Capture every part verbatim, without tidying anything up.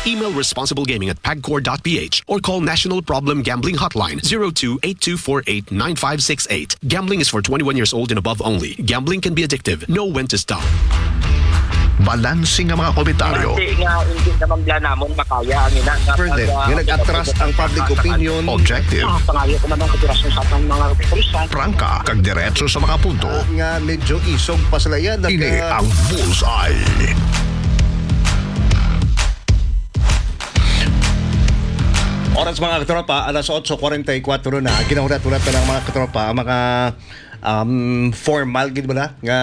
Email responsiblegaming at pagcor dot p h or call National Problem Gambling Hotline zero two eight two four eight nine five six eight. Gambling is for twenty-one years old and above only. Gambling can be addictive. Know when to stop. Balanse nga mga komentaryo. Hindi nga, hindi naman bla namon makaya ang ina nga Further, pag, ah, nga nag-atras ang public opinion. Objective. Ah, pangayo ko man ang kooperasyon sa atong mga kapulisan. Prangka, kag diretso sa mga punto. Ah, nga medyo isog pa sila yan. Ini ang Bullseye. Oras, mga katropa, alas otso kwarenta y kuwatro na. Ginahulat-hulat na lang, mga katropa, ang mga, um, formal gid bala nga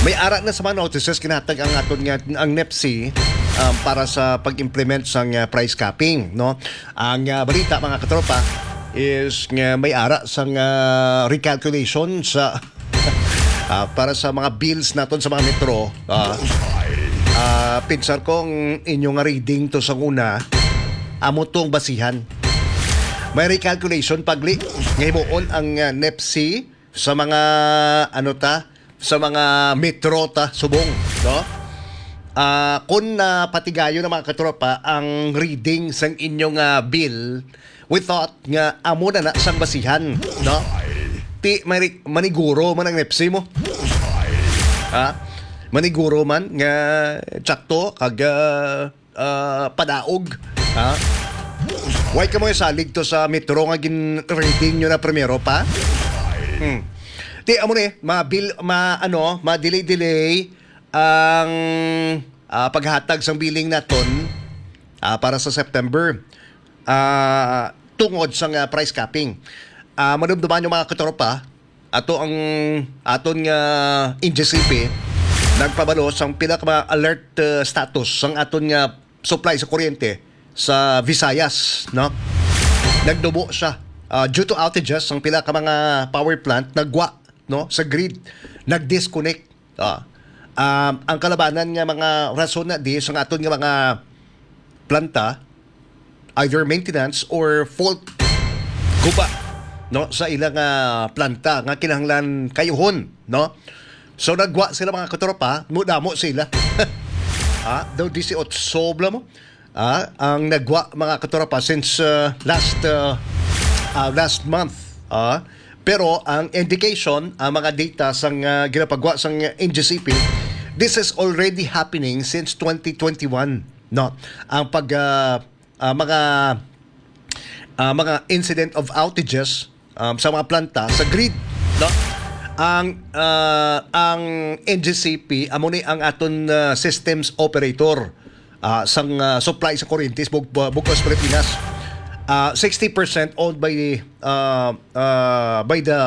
may ara na sa mga notices kinatag ang aton nga, ang nepsi, um, para sa pag-implement sang, uh, price capping, no? Ang, uh, balita, mga katropa, is nga may ara sang, uh, recalculation sa, uh, para sa mga bills naton sa mga metro. Uh, uh, pinsar ko ang inyo nga reading to sa una, amo tong basihan. May recalculation pagli nga himuon ang, uh, nepsi sa mga, ano ta, sa mga metro ta subong, no? Ah, kung napatigayon ng mga katropa ang reading sang inyong, ah, bill, we thought nga amo na na sang basihan, no? Ti may ri-, maniguro man ang nepsi mo. Ha? Maniguro man nga tsakto kag, ah, ah, padaog, ha? Why ka mo salig to sa metro nga gin-reading nyo na primero pa? Hmm. Ti, amo ni, ma-bill, ma-, ano, ma-delay-delay ang, ah, paghatag sang billing naton, ah, para sa September. Ah, tungod sa nga price capping. Ah, madumduman yung mga katropa, ato ang aton nga N G C P nagpabalo sang pila ka mga alert, uh, status sang aton nga supply sa kuryente sa Visayas, no? Nagdubo siya, uh, due to outages sang pila ka mga power plant, nagwa, no, sa grid, nag-disconnect. Ah, um, ang kalabanan nga mga rason na di sang aton nga mga planta, either maintenance or fault guba, no, sa ilang, ah, planta nga kinahanglan kayuhon, no? So, nagwa sila, mga katropa, mudamo sila. Ah, daw disiotso bala mo. Ah, ang nagwa, mga katropa, since, ah, last, ah, ah, last month. Ah, pero ang indication, ang mga data sang, ah, ginapagwa sang N G C P, this is already happening since twenty twenty-one, no? Ang pag, ah, ah, mga, ah, mga incident of outages, um, sa mga planta sa grid, no? Ang, ah, ang N G C P amo ni ang aton, ah, systems operator, ah, sang, ah, supply sa kuryente sa bug-, bug-os Pilipinas. Ah, sixty percent owned by, ah, ah, by the,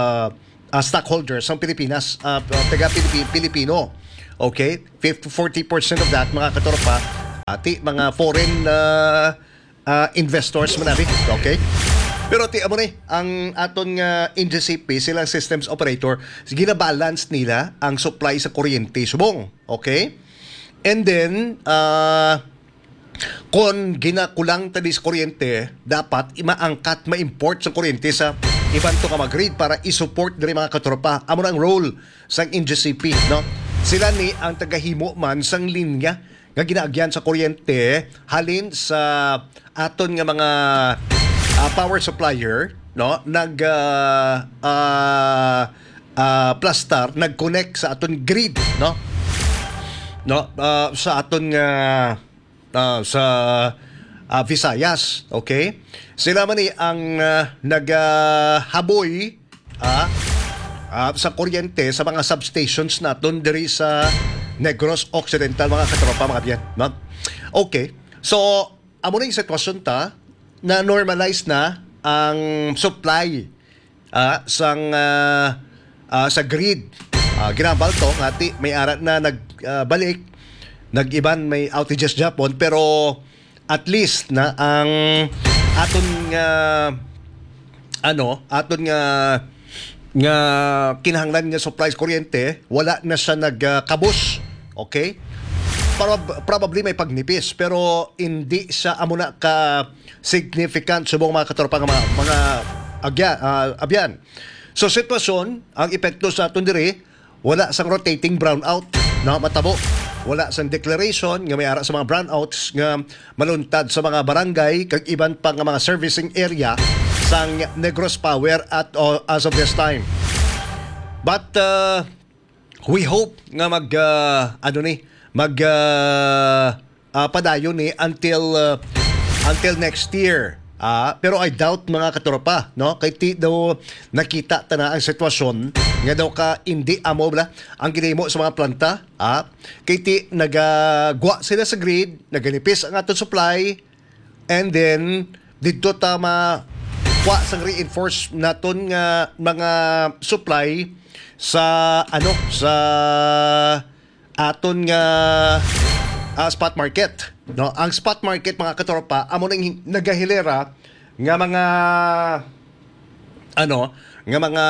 ah, stockholders sang Pilipinas, ah, taga Pilipi-, Pilipino. Okay? Fifty, forty percent of that, mga katropa, ati mga foreign, ah, ah, investors man abi. Okay? Pero ti amo ni ang aton nga N G C P, silang systems operator, ginabalance nila ang supply sa kuryente subong. Okay? And then, ah, kon ginakulang ta di sa kuryente, dapat i-, maangkat, ma-import sa kuryente sa iban to nga mga grid para i-support diri, mga katropa. Amo na ang role sang N G C P, no? Sila ni ang tagahimo man sang linya nga ginaagyan sa kuryente halin sa aton nga mga, ah, power supplier, no? Nag, ah, ah, ah, plastar, nag-connect sa aton grid, no? No, ah, sa aton nga, ah, sa, ah, Visayas, okay? Sila man ni ang, ah, nagahaboy, ah, ah, sa kuryente sa mga substations naton diri sa Negros Occidental, mga katropa, mga biyan, no? Okay. So, amo na yung sitwasyon ta, na normalize na ang supply, ah, sang, ah, ah, sa grid. Ah, ginambal to nga ti may ara na nag, ah, balik, nag-iban may outages gyapon, pero at least na ang aton nga, ano, aton nga, nga kinahanglan nga supply sa kuryente, wala na siya nagkabos. Okay? Prob-, probably may pagnipis, pero hindi siya amo na ka significant subong, mga katropa, nga mga, mga agya-, ah, abyan. So, sitwasyon, ang epekto sa aton diri, wala sang rotating brownout na matabo. wala sang declaration nga may ara sa mga brownouts nga maluntad sa mga barangay kag iban pa nga mga servicing area sang Negros Power at, uh, as of this time. But, uh, we hope nga mag, uh, ano ni, mag, uh, uh, padayon ni until, uh, until next year. Ah, pero I doubt, mga katropa, no? Kay ti daw nakita ta na ang sitwasyon nga daw ka hindi amo bala ang ginahimo sa mga planta, ah, kay ti nagagwa sila sa grid, naganipis ang aton supply, and then didto ta ma kuha sang reinforce naton nga mga supply sa, ano, sa aton nga, ah, spot market, no? Ang spot market, mga katropa, amo nang nagahilera nga mga, ano, nga mga,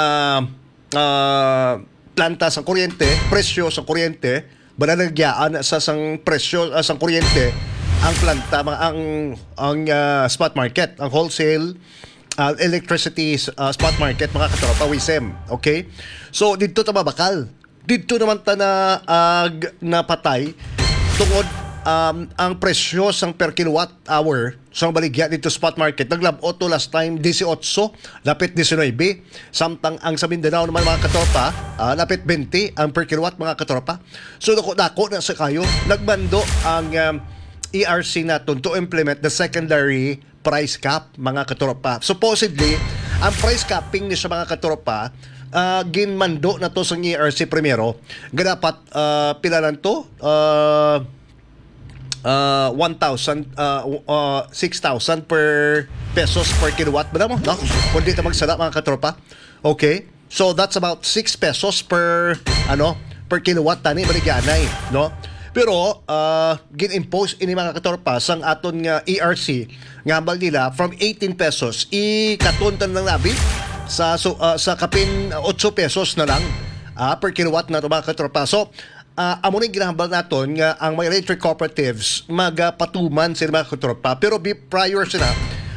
ah, planta sa kuryente, presyo sa kuryente, balagyaan sa sang presyo, ah, sang kuryente ang planta, mga, ang, ang, ah, spot market, ang wholesale, ah, electricity, ah, spot market, mga katropa, WISM. Okay? So, didto ta mabakal. Didto naman ta na, ah, g- napatay tungod, um, ang presyo sang per kilowatt hour sang baligya dito spot market, naglab-ot to last time, dieciocho, lapit diecinuebe. Samtang ang sa Mindanao naman, mga katropa, ah, lapit twenty ang per kilowatt, mga katropa. So, dako-dako na sa kayo. Nagmando ang, um, E R C naton to implement the secondary price cap, mga katropa. Supposedly, ang price capping ni sa, mga katropa, ah, ginmando na to sa E R C primero. Nga dapat, ah, pila lang to? Ah, ah, one thousand, ah, uh, six thousand per pesos per kilowatt ba mo, no? Kung di ta magsala, mga katropa. Okay? So that's about six pesos per, ano, per kilowatt tani baligyanay, no? Pero, ah, gin-impose ini, mga katropa, sang aton nga E R C nga hambal nila from eighteen pesos, ikaton ta lang labi sa, so, ah, sa kapin, ah, otso pesos na lang, ah, per kilowatt na to, mga katropa. So, ah, amo ni ginahambal naton nga ang mga electric cooperatives magapatuman sila, mga katropa. Pero bi-, prior sila,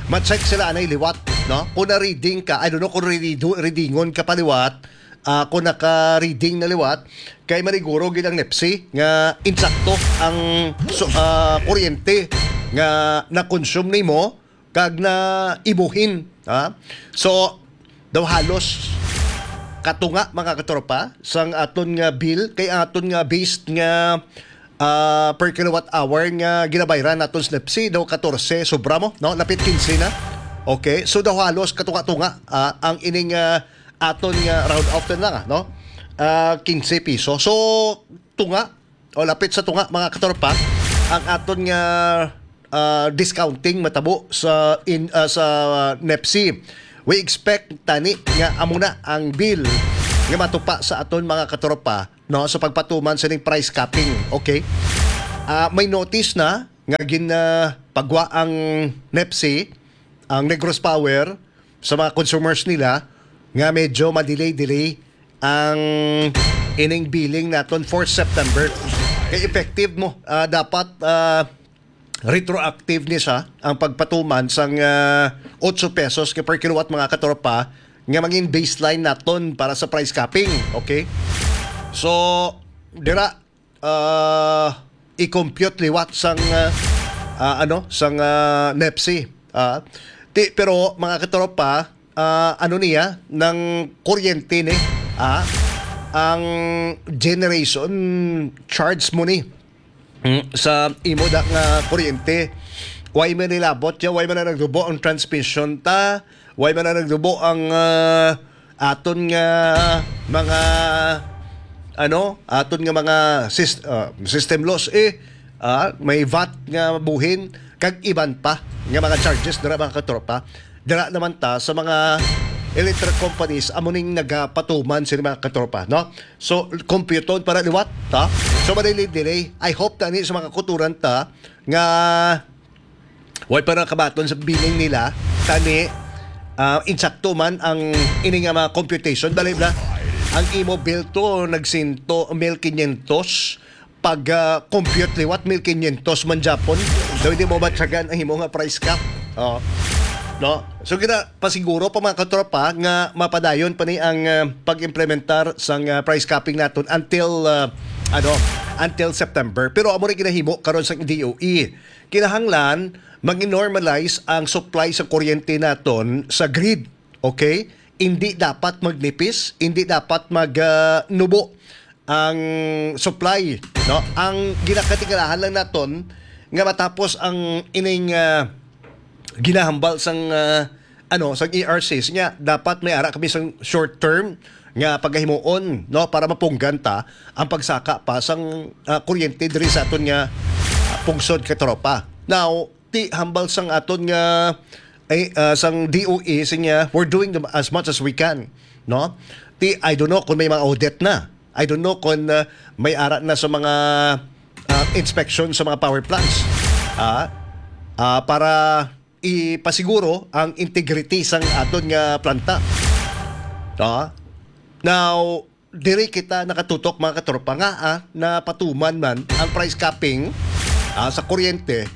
ma-check sila anay liwat, no? Kung na-reading ka, I don't know kung ready-, readingon ka pa liwat, ah, kung naka-reading na liwat, kay maniguro gid ang nepsi nga insakto ang, so, ah, kuryente nga na-consume nimo kag na ibuhin, ha? So, daw halos katunga, mga katropa, sang aton nga bill, kay ang aton nga based nga, ah, per kilowatt hour nga ginabayran naton sa nepsi daw katorse, sobra mo, no? Lapit kinse na. Okay, so daw halos katunga-tunga, ah, ang ining, ah, aton nga round off na lang, ah, no? Ah, kinse piso. So, tunga o lapit sa tunga, mga katropa, ang aton nga, ah, discounting matabo sa in, ah, sa nepsi. We expect tani nga amo na ang bill nga matupa sa aton, mga katropa, no, sa pagpatuman sa ning price capping, okay? Ah, may notice na nga gin, ah, pagwa ang nepsi, ang Negros Power, sa mga consumers nila nga medyo ma-delay-delay ang ining billing naton for September. Kay effective mo, ah, dapat, ah, retroactive ni siya ang pagpatuman sang, ah, otso pesos ka per kilowatt, mga katropa, nga mangin baseline naton para sa price capping, okay? So, dira, ah, i-compute liwat sang, ah, ah, ano, sang, ah, nepsi. Ah, ti, pero, mga katropa, ah, ano niya, nang kuryente ni, ah, ang generation charge mo ni, mm, sa imo da nga kuryente. Why man nilabot ya, why man na nagdubo ang transmission ta, why man na nagdubo ang, ah, aton nga mga, ano, aton nga mga sis-, ah, system loss, eh, ah, may vat nga buhin, kag iban pa nga mga charges dira, mga katropa. Dira naman ta sa mga electric companies, amo ning nagapatuman sila, mga katropa, no? So, kompyuton para liwat, ha? So, madelay-delay. I hope tani sa mga kuturan ta nga way pa nakabaton sa billing nila, tani, ah, insakto man ang ini nga mga computation. Dali na, ang imo bill to nagsinto, mil quinientos. Pag, ah, compute liwat, mil quinientos man japon. Daw hindi mo matyagan ang imo nga price cap. Oh. No? So, kita pasiguro pa, mga katropa, nga mapadayon pa ni ang, ah, pag-implementar sang, ah, price capping naton until, ah, ano, until September. Pero amo ra ginahimo karon sa D O E. Kinahanglan mag-normalize ang supply sa kuryente naton sa grid. Okay? Hindi dapat magnipis, hindi dapat mag, ah, nubo ang supply, no? Ang ginakatingalahan lang naton nga matapos ang ining, ah, ginahambal sang, ah, ano, sang E R Cs niya, dapat may ara kami sang short term nga pagahimuon, no, para mapunggan ta ang pagsaka pa sang, ah, kuryente diri sa aton nga, ah, pungsod, katropa. Now, ti hambal sang aton nga, ay, ah, sang D O E, siya, we're doing the, as much as we can, no? Ti, I don't know kung may mga audit na. I don't know kung, ah, may ara na sa mga, ah, inspection sa mga power plants. Ah, ah, para ipasiguro ang integrity sang aton nga planta. Ah, now, diri kita nakatutok, mga katropa, nga, ah, napatuman man ang price capping, ah, sa kuryente,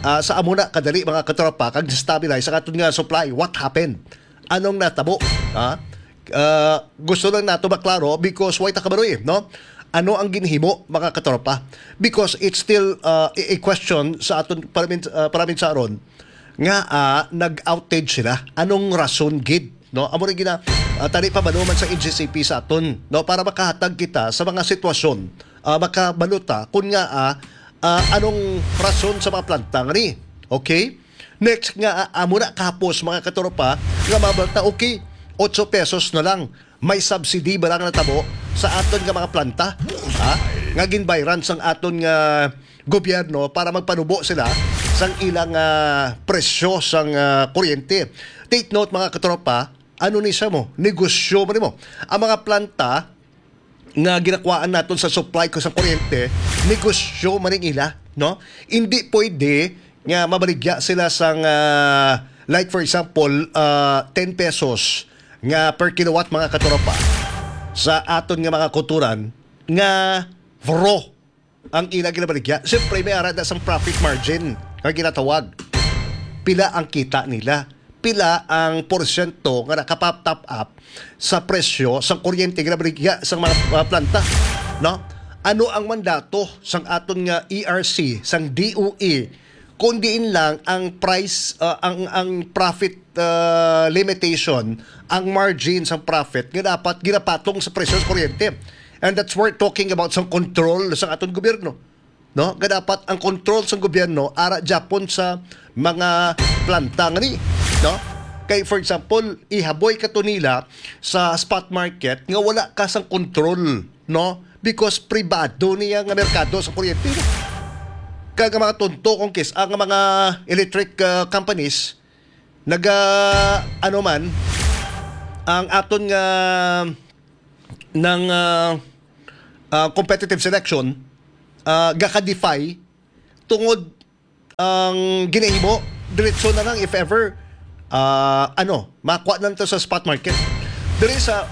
ah, sa amo na kadali, mga katropa, kag stabilize ang aton nga supply. What happened? Anong natabo? Ha? Ah, gusto lang nato maklaro because way ta kabalo, eh, no? Ano ang ginhimo, mga katropa? Because it's still, ah, a, a question sa aton paramin-, ah, paraminsaron nga, ah, nag-outage sila. Anong rason gid, no? Amo rin gina-, ah, tani pa ba naman sa N G C P sa aton, no? Para makahatag kita sa mga sitwasyon, ah, makabaluta kung nga, ah, ah, anong rason sa mga planta nga ni. Okay? Next nga, ah, amo na kahapos, mga katropa, nga mabalta, okay, otso pesos na lang. May subsidy ba lang natabo sa aton nga mga planta? Ha? Nga ginbayran sang aton nga gobyerno para magpanubo sila sang ilang, ah, presyo sang, ah, kuryente. Take note, mga katropa, ano ni siya mo? Negosyo mo ni mo. Ang mga planta nga ginakuhaan naton sa supply ko sa kuryente, negosyo man ning ila, no? Hindi pwede nga mabaligya sila sang, ah, like, for example, ah, ten pesos nga per kilowatt, mga katropa, sa aton nga mga kulturan nga raw ang ila ginabaligya. Siyempre, may ara na sang profit margin nga ginatawag. Pila ang kita nila? Pila ang porsyento nga nakapap-top up sa presyo sang kuryente nga ginabaligya sang mga, mga planta? No? Ano ang mandato sang aton nga E R C, sang D O E, kung diin lang ang price, ah, ang, ang profit, ah, limitation, ang margin sang profit nga dapat ginapatong sa presyo sa kuryente? And that's worth talking about sang control sang aton gobyerno, no? Nga dapat ang control sang gobyerno ara gyapon sa mga planta nga ni, no? Kay, for example, ihaboy ka to nila sa spot market nga wala ka sang control, no? Because pribado niya nga merkado sa kuryente, no? Kag ang mga tunto kung kis-, ang mga electric, ah, companies, naga, ano man, ang aton nga ng, ah, ah, competitive selection, ah, gaka-defy tungod ang ginahimo diretso na lang if ever, ah, ano, makuha na to sa spot market. Diri sa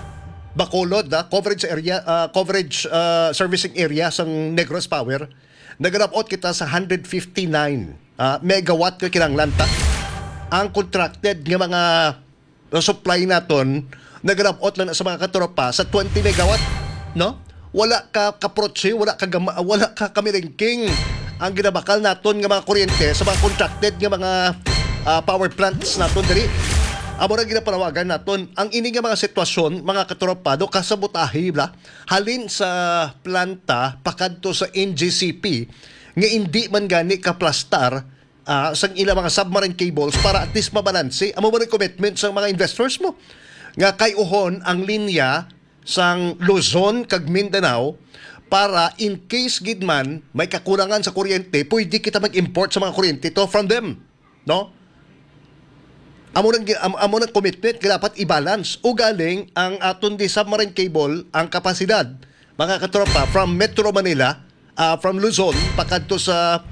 Bacolod, ah, coverage area, ah, coverage, ah, servicing area sang Negros Power, nagalabot kita sa hundred fifty-nine, ah, megawatt nga kinahanglan ta. Ang contracted nga mga, ah, supply naton, nagalabot lang na sa mga katropa sa twenty megawatt, no? Wala ka kaprotse, wala ka gama-, wala ka kamilingking ang ginabakal naton nga mga kuryente sa mga contracted nga mga, ah, power plants naton diri. Amo ra ginapanawagan naton ang ini nga mga sitwasyon, mga katropa, do kasabutahi bla halin sa planta pakadto sa N G C P nga indi man gani kaplastar, ah, sang ilang mga submarine cables para at least mabalanse. Amo man ang commitment sa mga investors mo nga kay uhon ang linya sang Luzon kag Mindanao para in case gid man may kakulangan sa kuryente, pwede kita mag-import sa mga kuryente to from them, no? Amo nang gi-, am-, amo nang commitment nga dapat i-balance. Ugaling ang aton di submarine cable, ang kapasidad, mga katropa, from Metro Manila, ah, from Luzon pakadto sa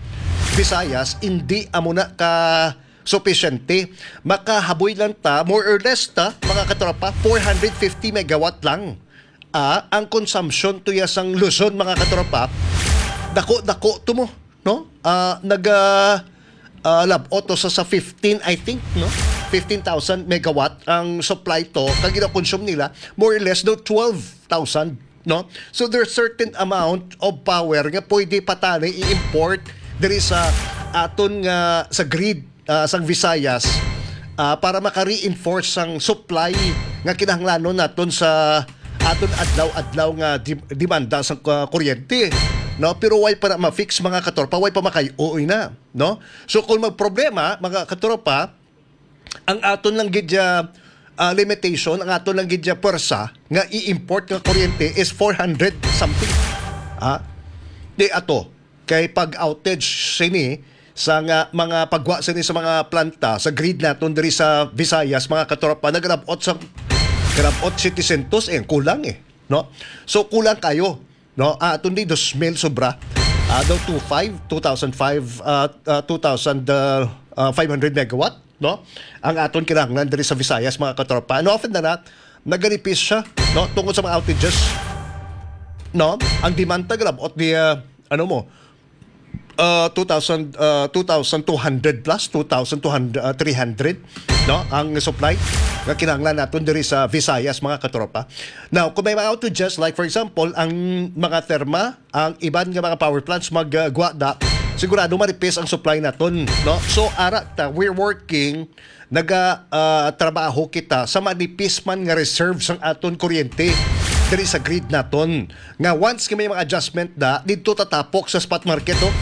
Visayas, hindi amo na ka supisyente. Makahaboy lang ta, more or less ta, mga katropa, four hundred fifty megawatt lang. Ah, ang consumption to ya sang Luzon, mga katropa, dako-dako to mo, no? Ah, naga, ah, labot to sa, sa fifteen, I think, no? Fifteen thousand megawatt ang supply to, kag gina-consume nila more or less do twelve thousand no? So there's certain amount of power nga pwede pa tani i-import diri sa aton nga, sa grid, ah, sang Visayas, ah, para maka-reinforce sang supply nga kinahanglanon naton sa aton adlaw-adlaw nga di-, demanda sa, ah, kuryente, no? Pero way pa na ma-fix, mga katropa, way pa makay-uy na, no? So kung magproblema, mga katropa, ang aton lang gid, ah, ah, limitation, ang aton lang gid, ah, pwersa nga i-import nga kuryente is four hundred something. Ha? Di ato, kay pag outage sini sa nga mga pagwa sini sa mga planta sa grid naton diri sa Visayas, mga katropa, nagrabot sa, grabot setecientos, eh, kulang, eh, no? So kulang kayo, no? Ah, aton di dos mil sobra. Ah, daw two five, two thousand five, ah, ah, two thousand, ah, ah, five hundred megawatt, no? Ang aton kinahanglan diri sa Visayas, mga katropa. And often than not, naganipis siya, no? Tungod sa mga outages, no? Ang demand ta, grab, ot di, ah, ano mo, ah, two thousand, ah, two thousand two hundred plus, two thousand two hundred, ah, three hundred, no? Ang supply nga kinahanglan naton diri sa Visayas, mga katropa. Now, kung may mga outages, like for example, ang mga therma, ang iban nga mga power plants mag, ah, guwa da, sigurado manipis ang supply naton, no? So, ara ta, we're working, naga, ah, trabaho kita sa manipis man nga reserve sang aton kuryente diri sa grid naton. Nga once nga may mga adjustment da, didto tatapok sa spot market, oh.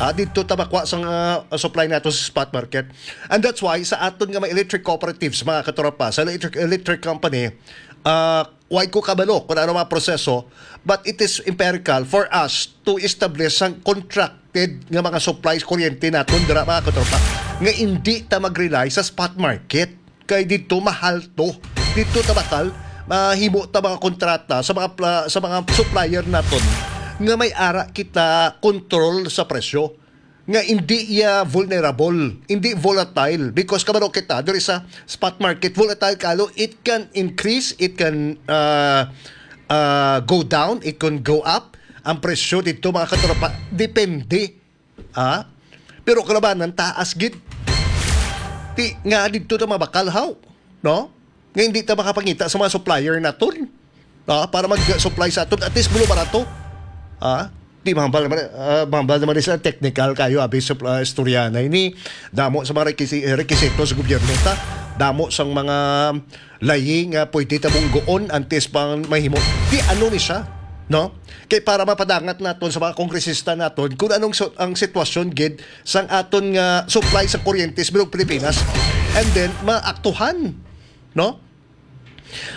Ah, didto ta makuha sang, ah, supply nato sa spot market. And that's why sa aton nga mga electric cooperatives, mga katropa, sa electric, electric company, ah, way ko kabalo kung ano mga proseso, but it is empirical for us to establish sang contracted nga mga supplies kuryente naton dira, mga katropa, nga indi ta mag-rely sa spot market. Kay dito mahal to. Dito ta bakal mahimo ta mga kontrata sa mga pla-, sa mga supplier naton nga may ara kita control sa presyo, nga hindi iya vulnerable, hindi volatile, because kabalo kita diri sa spot market, volatile kalo, it can increase, it can, uh, uh, go down, it can go up ang presyo dito, mga katropa, depende. Ah, pero kalabanan taas gid. Ti nga dito ta mabakalhaw, no? Nga hindi ta makapangita sa mga supplier naton, ah, para mag-supply sa aton, at least bulo barato. Ah, di mahambal naman, ah, mahambal naman sa technical kayo, abi, sa, ah, istorya na ini. Damo sa mga rekisi-, rekisito sa gobyerno ta. Damo sang mga layi nga pwede ta munggoon antes pang mahimo. Di ano ni siya, no? Kay para mapadangat naton sa mga kongresista naton kung anong so-, ang sitwasyon gid sang aton nga supply sa kuryente sa bilog Pilipinas. And then, maaktuhan, no?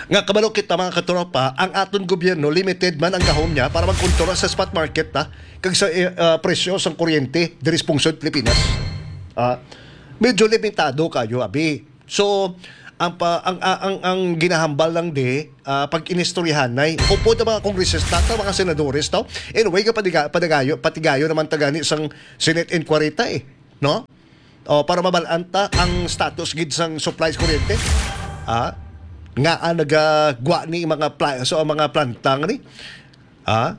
Nga kabalo kita, mga katropa, ang aton gobyerno, limited man ang gahom niya para magkontrola sa spot market, ha, kag sa, eh, ah, presyo sang kuryente diri sa pungsod Pilipinas. Ah, medyo limitado kayo, abi. So, ang pa, ang, ang, ang, ang ginahambal lang di, ah, pag inistoryahanay, upod ang mga kongresista, ta, mga senadores, to. Anyway, nga patiga-, patigayo, patigayo naman ta gani sang Senate inquiry ta, eh, no? O, para mabalaan ta ang status gid sang supplies kuryente. Ah, nga ang nagagwa ni mga pla-, so ang mga planta nga ni. Ah,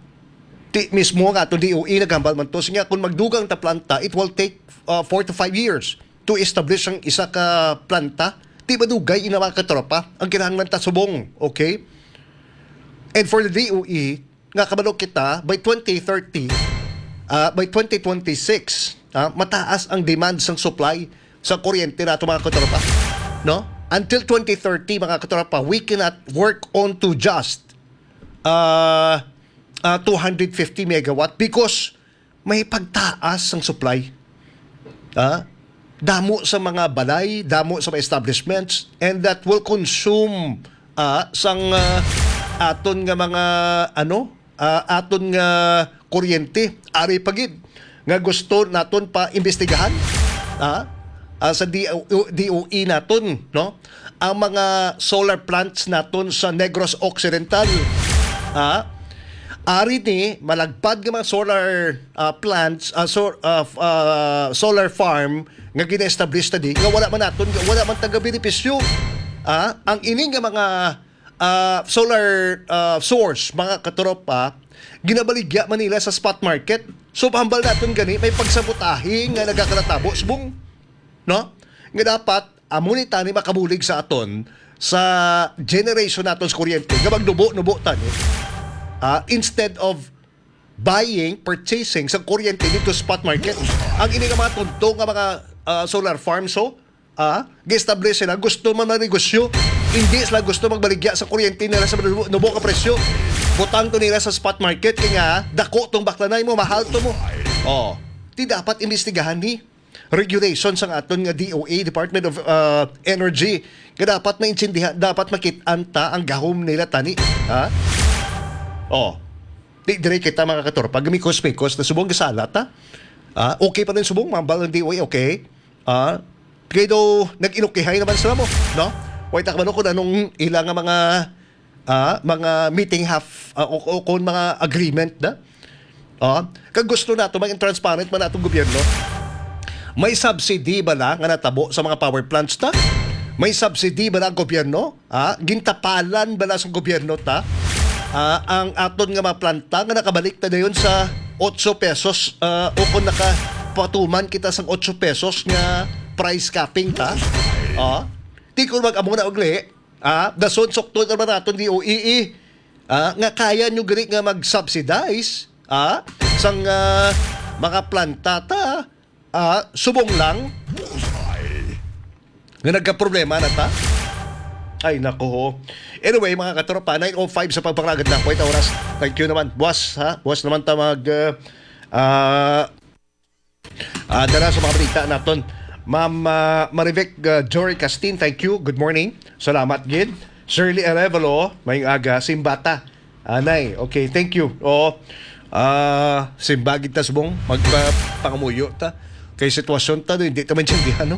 ti mismo nga ato D O E naghambal man to, siya kung magdugang ta planta, it will take, uh, four to five years to establish ang isa ka planta. Di madugay ina, mga katropa, ang kinahanglan ta subong, okay? And for the D O E, nga kabalo kita, by twenty thirty, ah, by twenty twenty-six, ah, mataas ang demand sang supply sa kuryente nato, mga katropa, no? Until twenty thirty, mga katropa, we cannot work on to just, ah, ah, two hundred fifty megawatt because may pagtaas ang supply. Ah, damo sa mga balay, damo sa mga establishments, and that will consume, ah, sang, ah, aton nga mga, ano, ah, aton nga kuryente. Ari pa gid nga gusto naton pa imbestigahan, ah, ah, sa D O, D O E naton, no? Ang mga solar plants naton sa Negros Occidental, ah, ari ni malagpad nga mga solar, ah, plants, ah, so-, ah, f-, ah, solar farm nga gina-establish ta di, nga wala man naton, wala man taga benepisyo. Ah, ang ini nga mga, ah, solar, ah, source, mga katropa, ginabaligya man nila sa spot market. So, hambal naton gani, may pagsabotahe nga nagakalatabo subong, no? Nga dapat, amo ni tani makabulig sa aton, sa generation naton sa kuryente, nga magnubo-nubo tani. ah, instead of buying, purchasing sa kuryente dito sa spot market. Ang ini nga mga tunto nga mga, ah, solar farms, so, ah, gi-establish sila, gusto man manegosyo. Hindi sila gusto magbaligya sa kuryente nila sa nubo, nubo ka presyo. Butang to nila sa spot market, kaya nga, dako tong baklanay mo, mahal to mo. Oh, di dapat imbestigahan ni regulation sang aton nga D O E, Department of, uh, Energy, nga dapat maintindihan, dapat makit-an ta ang gahom nila tani, ha? Oh, di dire kita, mga katropa, gamikos-mikos na subong gasala ta. Ah, okay pa din subong, mambal ang D O E, okay? Ah, kay do nag-inukihay naman sila mo, no? Way ta kabalo kung anong ila nga mga, ah, mga meeting half, ah, o, o kung mga agreement na. Ah, kag gusto nato maging transparent man atong gobyerno. May subsidy bala nga natabo sa mga power plants ta? May subsidy bala ang gobyerno? Ah, gintapalan bala sa gobyerno ta? Ah, ang aton nga mga planta nga nakabalik ta dayon sa otso pesos, ah, o kung nakapatuman kita sang otso pesos nga price capping ta? Ah, di ko mag-amo na ugli. Ah, dason sukton naman naton D O E E. Ah, nga kaya nyo gani nga mag-subsidize, ah, sang, ah, mga planta ta, ah, subong lang. Bullseye. Nga nagkaproblema na ta. Ay, nako. Anyway, mga katropa, nine oh five sa pagpangalagad na. Wait, oras. Thank you naman. Buwas, ha? Buwas naman ta mag, ah, ah, ah, dala sa mga balita naton. Ma'am, ah, Marivic, ah, Jory Castin, thank you. Good morning. Salamat gid. Shirley Arevalo, mayong aga. Simbata. Anay, okay, thank you. Oo. Ah, simbagid ta subong, magpapangamuyo ta. Kay sitwasyon ta, no, hindi ta maintindihan, no?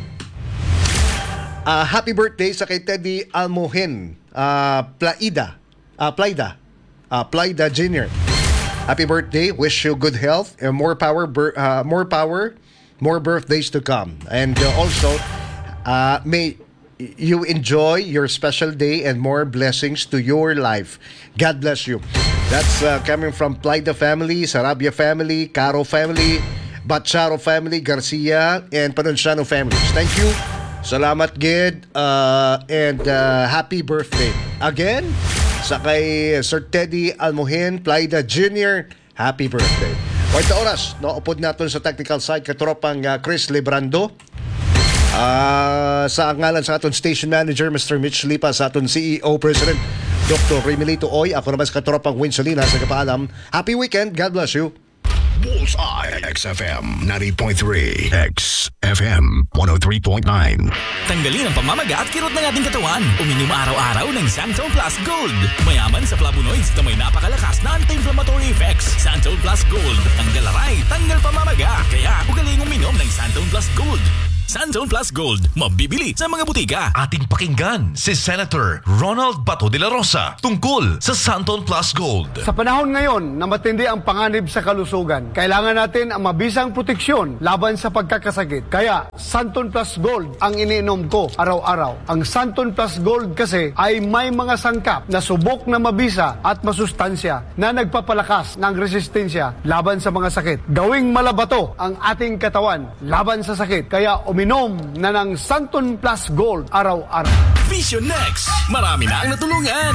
Ah, happy birthday sa kay Teddy Almohen, ah, Plaida. Ah, Plaida. Ah, Plaida Junior. Happy birthday. Wish you good health and more power, bir- ah, more power, more birthdays to come. And, uh, also, uh, may you enjoy your special day and more blessings to your life. God bless you. That's, uh, coming from Plaida family, Sarabia family, Caro family, Bacharo family, Garcia, and Panunciano families. Thank you. Salamat gid, uh, and, uh, happy birthday. Again, sa kay Sir Teddy Almohin, Plaida Junior, happy birthday. Kwarta oras, no? Upod naton sa technical side, katropang, ah, Chris Librando. Ah, sa ngalan sa aton station manager, Mister Mitch Lipa, sa aton C E O President, Doctor Remilito Oy. Ako naman sa katropang Win Salinas, nagpaalam. Happy weekend. God bless you. Bullseye, X F M ninety point three, X F M one oh three point nine. Tanggalin ang pamamaga at kirot ng ating katawan. Uminom araw-araw ng Santon Plus Gold. Mayaman sa flavonoids na may napakalakas na anti-inflammatory effects. Santon Plus Gold. Tanggal aray, tanggal pamamaga. Kaya, ugaling uminom ng Santon Plus Gold. Santon Plus Gold. Mabibili sa mga butika. Ating pakinggan si Senator Ronald Bato de la Rosa tungkol sa Santon Plus Gold. Sa panahon ngayon na matindi ang panganib sa kalusugan, kailangan natin ang mabisang proteksyon laban sa pagkakasakit. Kaya, Santon Plus Gold ang iniinom ko araw-araw. Ang Santon Plus Gold kasi ay may mga sangkap na subok na mabisa at masustansya na nagpapalakas ng resistensya laban sa mga sakit. Gawing malabato ang ating katawan laban sa sakit. Kaya uminom na ng Santon Plus Gold araw-araw. Vision Next, marami na ang natulungan.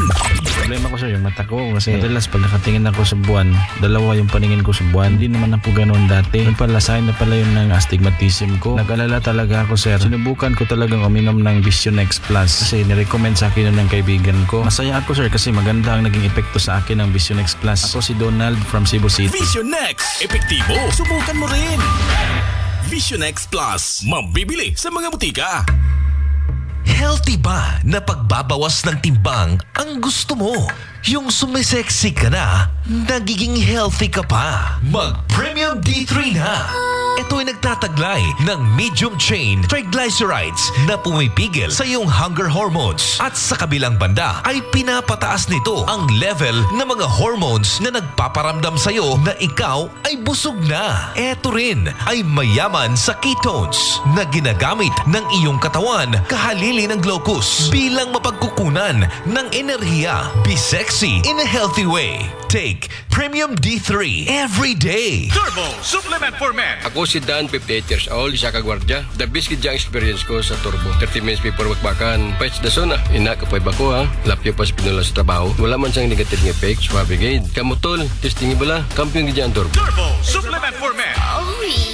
Problema ko, sir, yung mata ko. Kasi madalas pag nakatingin ako sa buwan, dalawa yung paningin ko sa buwan. Hindi naman na po ganoon dati. Yung pala, sign na pala yun ng astigmatism ko. Nag-alala talaga ako, sir. Sinubukan ko talagang uminom ng Vision X Plus kasi nirecommend sa akin yun ng kaibigan ko. Masaya ako, sir, kasi maganda ang naging epekto sa akin ng Vision X Plus. Ako si Donald from Cebu City. Vision X, epektibo. Subukan mo rin. Vision X Plus, mabibili sa mga butika. Healthy ba na pagbabawas ng timbang ang gusto mo? Yung sumisexy ka na, nagiging healthy ka pa. Mag Premium D three na. Ito'y nagtataglay ng medium chain triglycerides na pumipigil sa iyong hunger hormones. At sa kabilang banda ay pinapataas nito ang level ng mga hormones na nagpaparamdam sa iyo na ikaw ay busog na. Eto rin ay mayaman sa ketones na ginagamit ng iyong katawan kahalili ng glucose bilang mapagkukunan ng enerhiya. Be sexy in a healthy way. Take Premium D three every day. Turbo Supplement for Men. Ako Si Dan, fifty-eight years old, isa ka gwardiya. The best gid ang experience ko sa Turbo. Thirty minutes before bakbakan, fights the zone ah. Ina, kapay ba ko ha? Lapyo pa sa pinula sa trabaho. Wala man sang negative nga effect, suwabe gid. Kamo tol, testing bala. Kampiyon gid ang Turbo. Turbo Supplement for Men. Oh,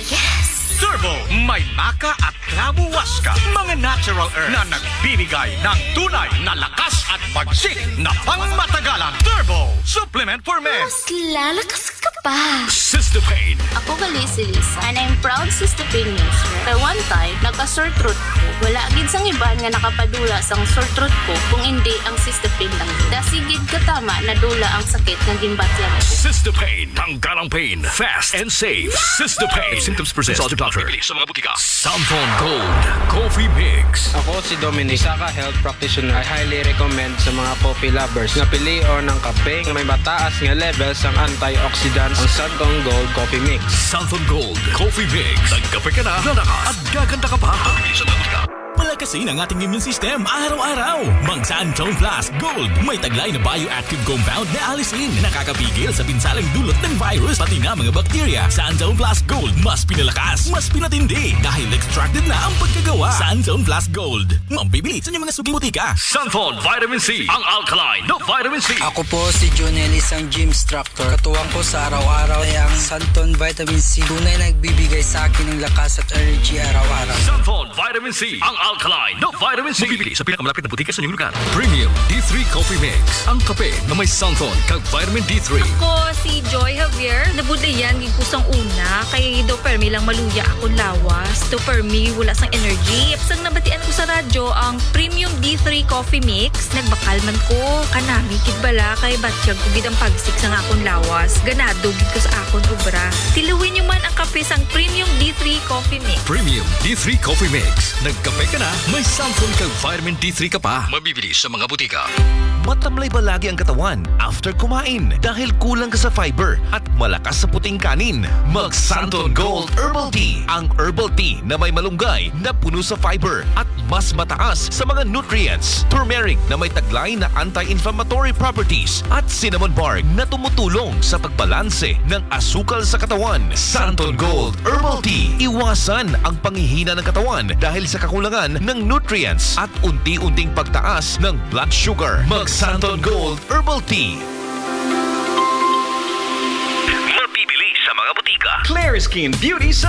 yes. Turbo, may maca at clavo huasca. Mga natural herbs na nagbibigay ng tunay na lakas at bagsik na pangmatagalan. Turbo Supplement for Men. Mas lalakas ka pa. Sister Pain. Ako gali si Lisa, and I'm proud Sister Pain user. Kay one time, nagka-sore throat ko. Wala gid sang iban nga nakapadula sang sore throat ko kung indi ang Sister Pain lang. Dasi gid katama nadula ang sakit nga ginbatyag ko. Sister Pain. Tanggal ang pain. Fast and safe. Sister Pain. If symptoms persist, consult your doctor. Mabibili sa mga butika. Santon Gold Coffee Mix. Ako si Dominic, isa ka health practitioner. I highly recommend sa mga coffee lovers nga pilion ang kape nga may mataas nga level sang antioxidants, ang Santon Gold Coffee Mix. Santon Gold Coffee Mix. Nagkape ka na, lalakas, at gaganda ka pa. Mabibili sa mga butika. Palakasin ang ating immune system araw-araw. Mag Santon Plus Gold. May taglay na bioactive compound na allicin na nakakapigil sa pinsalang dulot ng virus, pati na mga bakterya. Santon Plus Gold, mas pinalakas, mas pinatindi, dahil extracted na ang pagkagawa. Santon Plus Gold. Mabibili sa inyong mga suking butika. Santon Vitamin C, ang alkaline na vitamin C. Ako po si Junel, isang gym instructor. Katuwang ko sa araw-araw ay ang Santon Vitamin C. Tunay na nagbibigay sa akin ng lakas at energy araw-araw. Santon Vitamin C, ang alkaline na vitamin C. Mabibili sa pinakamalapit na butika sa inyong lugar. Premium D three Coffee Mix, ang kape na may Santon kag vitamin D three. Ako si Joy Javier. Nabudlayan gid ko sang una kay daw permi lang maluya akong lawas. Daw permi wala sang energy. Sang nabatian ko sa radyo ang Premium D three Coffee Mix, nagbakal man ko. Kanami gid bala kay batyag ko gid ang pagsik sang akon lawas. Ganado gid ko sa akon obra. Tiluwi nyo man ang kape sang Premium D three Coffee Mix. Premium D three Coffee Mix. Nagkape ka na, may Santon kag vitamin D three ka pa. Mabibili sa mga butika. Matamlay ba lagi ang katawan after kumain dahil kulang ka sa fiber at malakas sa puting kanin? Mag Santon Gold Herbal Tea, ang herbal tea na may malunggay na puno sa fiber at mas mataas sa mga nutrients, turmeric na may taglay na anti-inflammatory properties, at cinnamon bark na tumutulong sa pagbalanse ng asukal sa katawan. Santon Gold Herbal Tea. Iwasan ang panghihina ng katawan dahil sa kakulangan ng nutrients at unti-unting pagtaas ng blood sugar. Mag Santon Gold Herbal Tea. Mabibili sa mga butika. Clear Skin Beauty sa